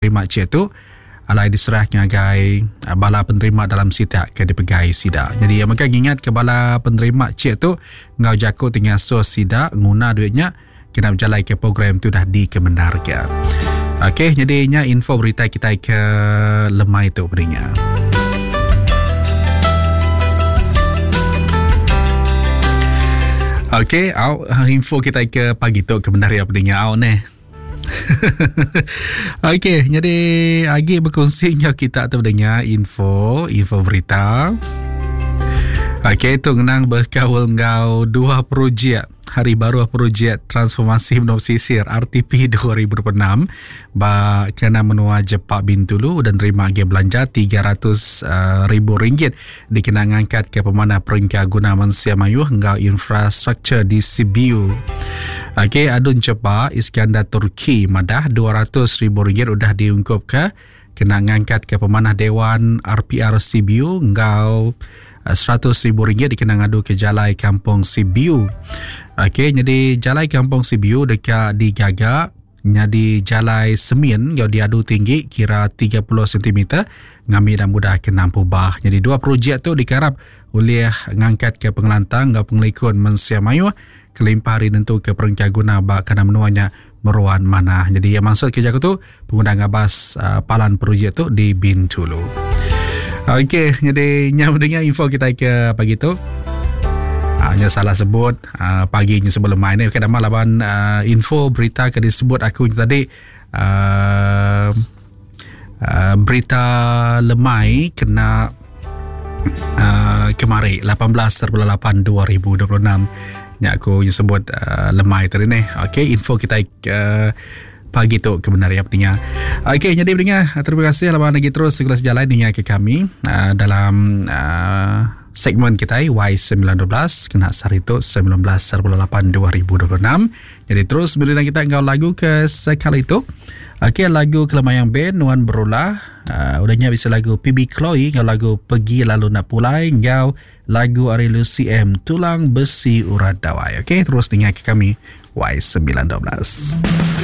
Terima chek tu alai diserah ngagai bala penerima dalam sitak ke dipegai sida. Jadi iya mega ngingatka bala penerima chek tu enggau jaku ti ngasuh sida nguna duit nya kena bejalaika program ti udah dikemendarka. Okey, jadi nya info berita kitai ke lemai tu peninga. Okey, au info kitai ke pagi tu ke bendar iya peninga au neh. Okey, jadi agi berkongsi enggau kita tu dengar info, info berita. Okey, tu ngenang berkaul enggau dua projek Hari Baru Projek Transformasi Menua Pesisir RTP 2026 ba kena menua Jepak Bintulu dan terima agi belanja 300 eh, ribu ringgit dikena ngangkatka pemanah perengka guna mensia mayuh enggau infrastruktur di Sibiu. Okey, Adun Chepa Iskandar Turki madah 200 ribu ringgit udah diungkupka kena ngangkatka pemanah Dewan RPR Sibiu enggau 100 ribu ringgit dikena ngaduka jalai Kampung Sibiu. Okey, jadi jalai Kampung Sibiu deka digaga Nyadi jalai semin enggau diadu tinggi kira 30 sentimeter ngambi enda mudah ke nampu bah. Nyadi dua projek tu dikarap ulih ngangkatka pengelantang enggau pengelikun mensia mayuh kelimpah ari nentuka perengka guna ba kandang menua nya meruan manah. Nyadi iya mansut ke jaku tu pengudah ngabas palan projek tu di Bintulu. Okey, nyadi nya mendengar info kita ke pagi tu. Uh, nya salah sebut uh, pagi nya sebelum main ni okay, nama laban uh, info berita ke disebut aku tadi uh, uh, berita lemai kena uh, kemari 18.8 2026 nya aku sebut uh, lemai tadi ni okey info kita uh, pagi tu ke benar ya peninga. Okey, jadi peninga, terima kasih laban lagi terus segala sejalai ninga ke kami uh, dalam uh, segmen kita Y912 kena sehari tu 19.8 2026. Jadi terus beri kita enggau lagu ke sekali tu. Okey, lagu Kelemayang Band Nuan Berulah. Uh, udah nya bisa lagu PB Chloe enggau lagu Pergi Lalu Nak Pulai enggau lagu ari Lucy M Tulang Besi Urat Dawai. Okey, terus dengar ke kami Y912.